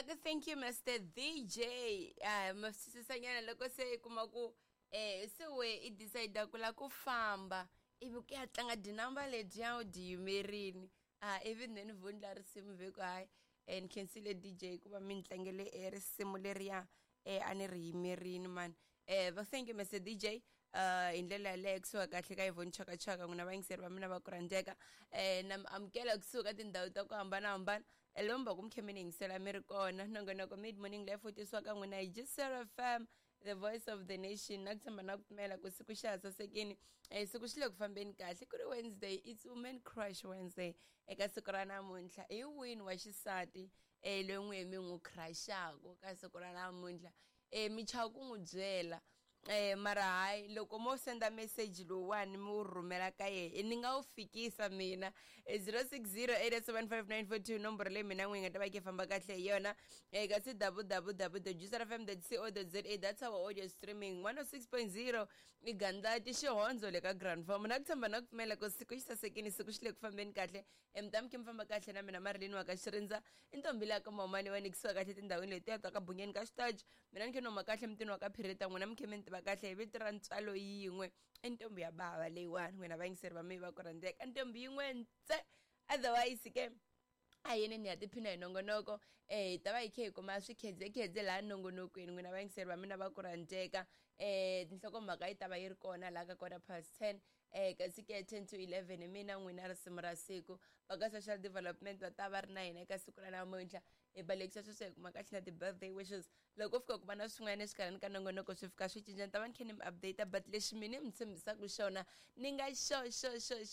Va ku thank you Mr DJ. Ah, ma swi twisisanyana loko se i kuma ku se we i decide ku la ku famba ivi ku ya tlanga tinamba letiya u ti yimerini. Ah, ivi then vundla risimu ve ku hayi ni khensile DJ ku va mi ni tlangele e risimu leriya a ni ri yimerini mani. Va thank you Mr DJ. Hi ndlela yaleyo kusuka kahle ka Yvonne Chaka Chaka n'wina vayingiseri va mina va ku rhandzeka na mi amukela kusuka tindhawu ta ku hambanahambana lomba ku mi khe mi ni yingisela mi ri kona nongonoko mid morning life wu tisiwa ka n'wina hi Gisela FM the voice of the nation na ku tshemba na ku pfumela ku siku xa ha sasekini siku xi le ku fambeni kahle ku ri Wednesday it's women crush Wednesday eka siku ra namuntlha hi wini wa xisati loyi n'wi mi n'wi crushaka ka siku ra namuntlha mi chava ku n'wi byela mara hayi loko mo senda message lowuwani mi wu rhumela ka yehe ni nga wu fikisa mina 06087594 nomboro leyi mina n'wi nga ta va yi famba kahle hi yona kasi www juicerfm co za that's our audio streaming 106.0 i gandlati xihondzo le ka grand farm na ku tshemba na ku pfumela ku siku xi sasekini siku xi le ku fambeni kahle mi ta mi khe mi famba kahle na mina marilini wa ka xirindza i ntombi leya ka mamani wa nikisiwa kahle tindhawini letiya ta ka bunyeni ka xitaji mina ni khe ni huma kahle mutini wa ka phirita n'wina mi khe mi ni tiva kahle hi vito ra ntswalo yin'we i ntombi ya bava leyiwani n'wina vayingiseri va mina va ku rhandzeka ntombi yin'we ntse otherwise ke a yini ni ya tiphina hi nongonoko hi ta va hi khe hi kuma swikhedzekhedze laha nongonokweni n'wina vayingiseri va mina va ku rhandzeka tinhlokomhaka yi ta va yi ri kona laha ka quarter past 10 kasi ke 10 to 11 hi mina n'wina risimu ra siku va ka social development va ta va ri na hina eka siku ra namuntlha hi balekisa sweswo hi kuma kahle na ti-birthday wishes loko fika ku va na swin'wana exikarhini ka nongonoko swi fika swi cinca ni ta va ni khe ni mi update but lexi mina mi tshembisaka xona ni nga xo xo xo xo.